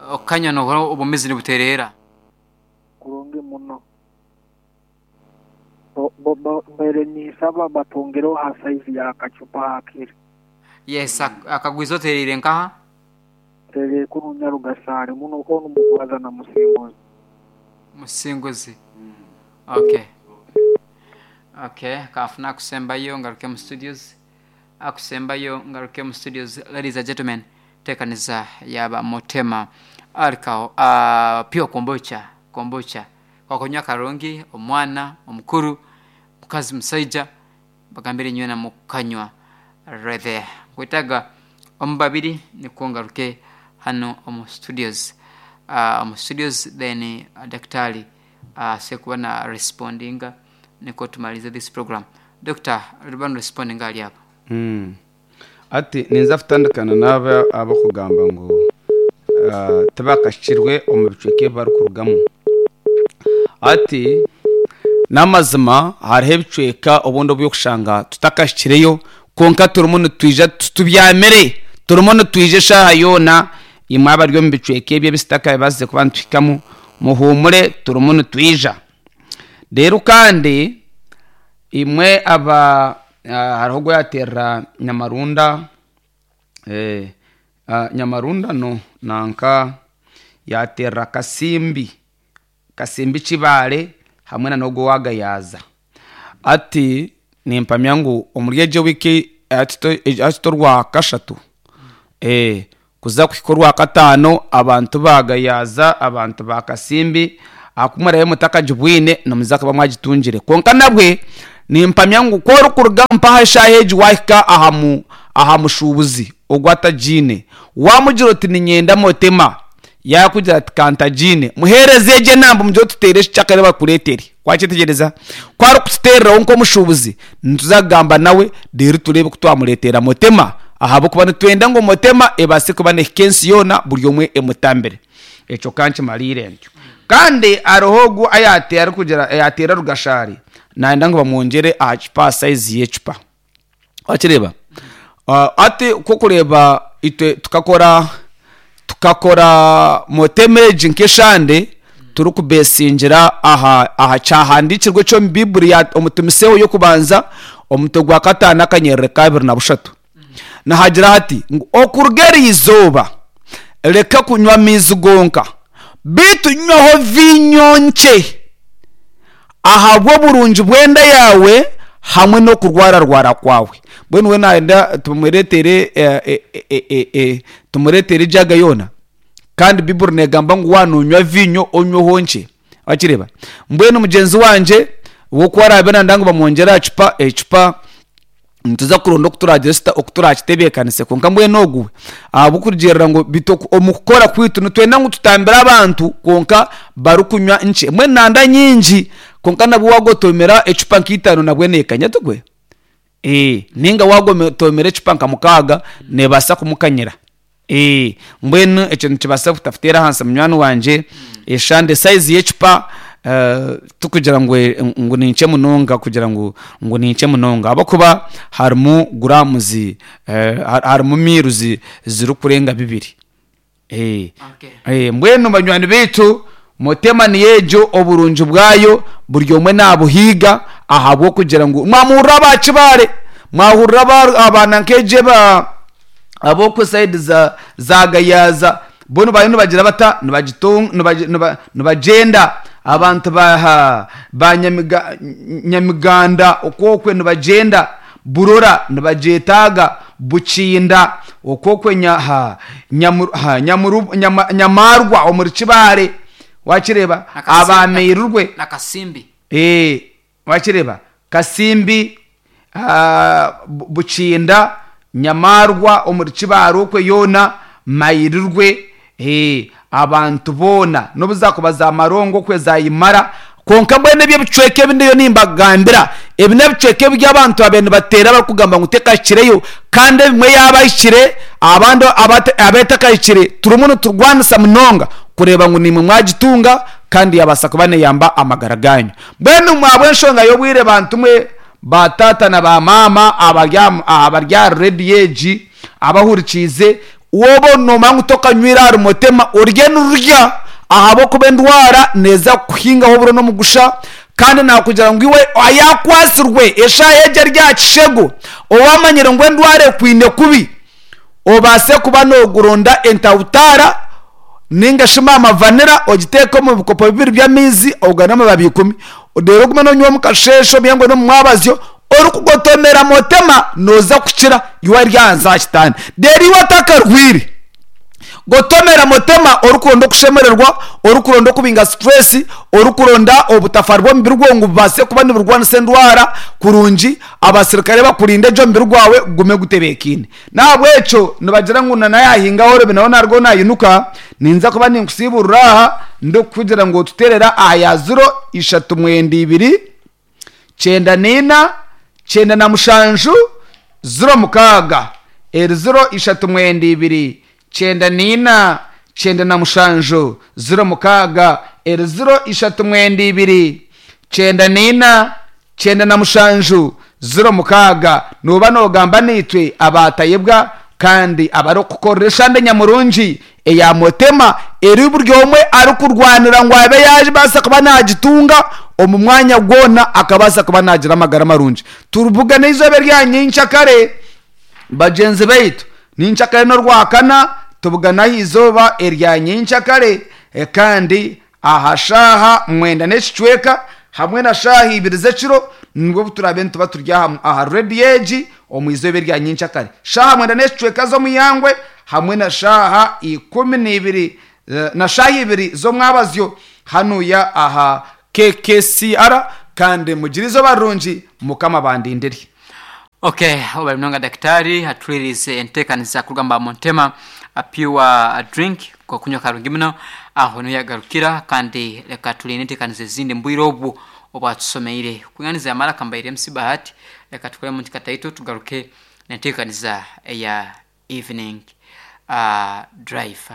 Okukanywa nohurira obwomeezi nibutereera. Kurungi muno. Mbaire ninsaba batwongereho aha size ya kacupa hakiri. Yes, akagwiza otereire nkaha? Ntereire kunu Nyarugasaari muno onu mukubaza na Musinguzi. Musinguzi. Okay. Okay, kanfune akusembayo ngaruke mu studios. Akusembayo ngaruke mu studios. Ladies and gentlemen, tekaniza yaba Mutema alikaho uh, pure kombucha, kombucha. Kwakunywa karungi, omwana, omukuru, mukazi, musaija, bagambire nywena mukanywa right there. Nkwetaga omu babiri nikwo ngaruke hanu omu studios. Uh, omu studios then uh, daktari aase uh, kuba na respondinga nikwo tumalize this program. Doctor, riba respondinga ali abo. Hati ninza kutandikana n'aba abakugamba ngu tibakahikirwe omu bicweka ebi barikurugamu. Hati n'amazima hariho ebicweka obundi obu orikushanga tutakahikireyo kwonka turimu nitwija tubyamire, turimu nitwija eshaaha yoona. Imwe abari omu bicweka ebi ebi tutakabaasize kuba nituhikamu muhuumure turimu nitwija. Reero kandi imwe aba hariho ogu yaateerera Nyamarunda, Nyamarunda no nanka yaateerera Kasimbi, Kasimbi Kibaale hamwe na n'ogu owa Gayaza. Hati nimpamya ngu omuri egi wiiki hati t'orwakashatu kuza kuhika orwakataano abantu ba Gayaza, abantu ba Kasimbi ahakuba muraabe mutakagibwine nimuza kuba mwagitungire. Kwonka nabwe nimpamya ngu ku orikuruga mpaha eshaaha egi waahika aha mu aha mushuubuzi ogwo atagiine, waamugira oti niinyenda motema, yaakugira ati ka ntagiine, muheereze egyo enamba omugire oti teera eki kyakare bakureetere. Wakyetegyereza? Ku arikututeereraho nk'omushuubuzi, nituza kugamba nawe reero tureebe oku twamureetera Motema ahabw'okuba nitwenda ngu Motema ebaase kuba neehika ensi yoona buri omwe emutambire. Ekyo ka nkimariire ntyo. Kandi hariho ogu arikugira yaateera Rugashaari naayenda ngu bamwongyere aha cupa aha sayizi y'ecupa. Wakireeba? Hati ku orikureeba itwe tukakora tukakora motema egi nk'eshande turikubeesingira aha aha kyahandiikirwe eky'omu Baiburi ya omu Timoseeho y'okubanza omutwe gwa kataano akanyerere k'abiri na bushatu. Nihagira hati ngu okuruga eri izooba reka kunywa amaizi gonka, beitu nywaho viinyo nkye. Ahabw'oburungi bw'enda yaawe hamwe n'okurwararwara kwawe. Mbwenu we naayenda tumureetere tumureetere ejaaga yoona? Kandi Baiburi neegamba ngu waaba noonywa viinyo onyweho nkye. Wakireeba? Mbwenu mugyenzi wangye we ku araabe nayenda ngu bamwongyere aha cupa, ecupa Nituza kuronda oku turaagire tuta oku turaakitebeekanise. Kwonka mbwenu ogu we, ahabw'okurugiirira ngu beitu omu kukora kwaitu nitwenda ngu tutambire abantu kwonka barikunywa nkye. Mbwenu nanda nyingi kwonka nabwo waagotomera ecupa nka itaano nabwo neekanya tikwe? Ee, nainga waagotomera ecupa nka mukaaga neebaasa kumukanyira. Ee, mbwenu ekyo nikibaasa kutakuteera ahansi munywani wangye. Eshande sayizi y'ecupa tikugira ngu ngu ni nkye munonga kugira ngu ngu ni nkye munonga ahabw'okuba harimu guraamuzi harimu miiruzi zirikurenga bibiri. Ee, mbwenu banywani baitu Motema niyo egyo oburungi bwayo buri omwe naabuhiiga ahabw'okugira ngu mwamuhurira aba Kibaare, mwahurira aba abaana nk'egyo aba ab'okwe sayidi za za Gayaza bo nibariyo nibagira bata nibagitunga nibagi niba nibagyenda abantu ba ha ba Nyamiga Nyamiganda okwokwe nibagyenda, Burora nibagyetaaga, Bukinda okwokwe nya ha Nyamu ha Nyamuru Nyama Nyamarwa omuri Kibaare wakireeba Na Kasimbi- abameirirwe na Kasimbi. Ee, wakireeba Kasimbi Bukinda, Nyamarwa omuri Kibaare okwe yoona Mairirwe ee, abantu boona n'obu zaakuba za Marongo okwe za Imara kwonka mbwenu ebi ebicweka ebi ndiyo nimbagambira ebi n'ebicweka ebi abantu baabaire nibateera barikugamba ngu tekahikireyo kandi ebimwe yaaba ahikire abandi abu etakahikire turimu niturwanisa munonga kureeba ngu naimwe mwagitunga kandi yaabaasa kuba neeyamba amagara gaanyu. Mbwenu imwe ahabw'enshonga y'obwire bantu mwe ba taata na ba maama abari aha abari ahari rediyo egi abahurikiize, Wooba noomanya ngu tokanywire ahari Motema, orye nirurya ahabw'okuba endwara neeza kukuhingaho oburo n'omugusha kandi naakugira ngu iwe ayaakwatsirwe eshaaha egi ari aha kishego, owaamanyire ngu endwara ekwine kubi, obaase kuba nooguronda entawutaara ninga shi maama vanira ogiteeke omu bikopo bibiri by'amaizi ogane amababi ikumi reero ogume noonywa omu kasheeshe obyengwe n'omu mwabazyo orikugotomera motema nooza kukira iwe ari ahansi aha kitanda. Reero iwe otakarwaire Gotomera motema orikuronda okushemererwa, orikuronda okubinga stress, orikuronda obutafari bw'omubiri gwawe ngu bubaase kuba niburwanisa endwara kurungi, abasirikare bakurinde gye omubiri gwawe gugume gutebeekaine. N'ahabw'ekyo nibagira ngu na naayahinga ahorobi nawe naarugaho naayinuka, ninza kuba ninkusiiburira aha ndikukugira ngu otuteerere aha ya ziro ishatu mwenda ibiri, 94, 97, 06, eri 0 ishatu mwenda ibiri, 94, 97, 06, eri 0 ishatu mwenda ibiri, 94, 97, 06. Nooba noogamba naitwe abaatayebwa kandi abarikukukorera eshande nyamurungi eya Motema eri buri omwe arikurwanira ngu abe yaabaasa kuba naagitunga omu mwanya gwona akabaasa kuba naagira amagara marungi. Turibugane eizooba erya nyenkyakare bagyenzi baitu. Nyenkyakare n'orwakana tubugane aha izooba erya nyenkyakare kandi aha shaaha mwenda n'ekicweka hamwe na shaaha ibiri z'ekiro nibwo obu turaabe nituba turi aha rediyo egi omu izooba erya nyenkyakare. Shaaha mwenda n'ekicweka z'omu ihangwe hamwe na shaaha ikumi n'ibiri na shaaha ibiri z'omwabazyo hanuya aha KKCR kandi mugire eizooba rirungi Mukama abandindire. Ok webale munonga dakitari atuhuririize enteekaniza kuruga omu ba Montema pure drink kokunywa karungi muno aho niho yagarukira kandi reka turinde enteekaniza ezindi mubwire obu obwatusomeire kwinganiza yamara kambaire MC Bahati reka tukoremu nti kataito tugaruke nenteekaniza eya evening drive.